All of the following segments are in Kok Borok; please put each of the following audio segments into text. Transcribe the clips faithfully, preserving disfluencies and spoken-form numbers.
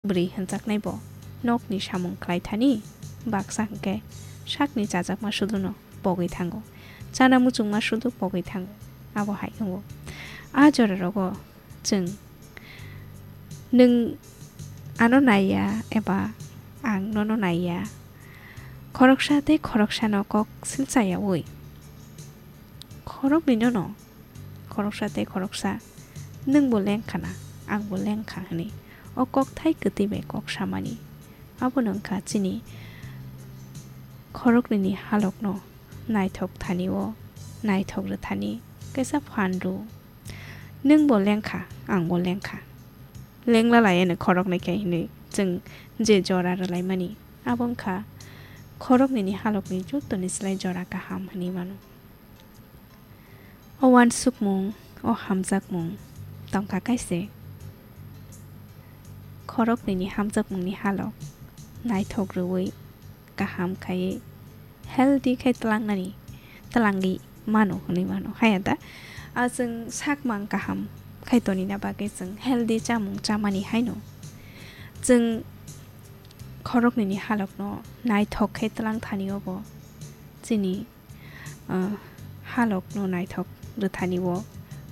Bwrwi hwnjaknai bo nokni samung khlai thani, baksa hwnkhe sakni chajakma suduno pogwi thango, chana muchungma sudu pogwi thango, abo hai wngo. A jorarogo chwng nwng ano naiya eba ang nono naiya, khoroksa tei khoroksano kok silchayaui khoroknwinono khoroksa tei khoroksa, nwngbo lengkha na, angbo lengkha hwnwi o kokthai kwtwi bai kok samani. Abono wngkha chini khoroknwini halokno naithok thani-o naithok rwthani kaisa phan rw. Nwngbo lengkha, angbo lengkha. Lengla laiano khoroknwi khe hwnwi chwng je jora rwlaimani, abo wngkha khoroknwini halokni jottoni slai jora kaham hwnwi mano. O uansukmung, o hamjakmung tongkha kaise. Khoroknwini hamjakmungni halok naithok rwui kaham khaiwi healthy khai tlangnani, tlangwi mano hwnwi mano. Haya da? A chwng sakmang kaham khai tonina bagwi chwng healthy chamung chamani haino chwng khoroknwini halokno naithok khai tlang thani obo chini ah, halokno naithok rwthani-o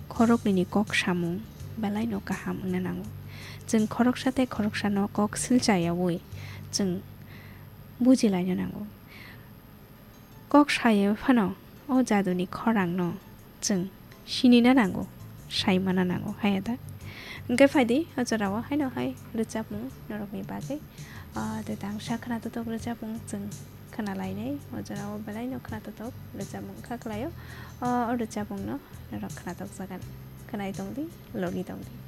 khoroknwini kok samung belaino kaham wngna nango. Chwng khoroksa tei khoroksano kok silchayaui chwng bujilaina nango. Kok sayaui phano o jaduni khorangno chwng sinina nango, saimana nango, haya da? Hwnkhe phaidi, o jorao haino hai rwchapmung norokni bagwi, ah, tei tangsa khwnatotok rwchapmung chwng khwnalainai, o jorao belaino khwnatotok rwchapmung wngkha khlaio. O, o rwchapmungno norok khwnatokjagan, khwnai tongdi, logi tongdi.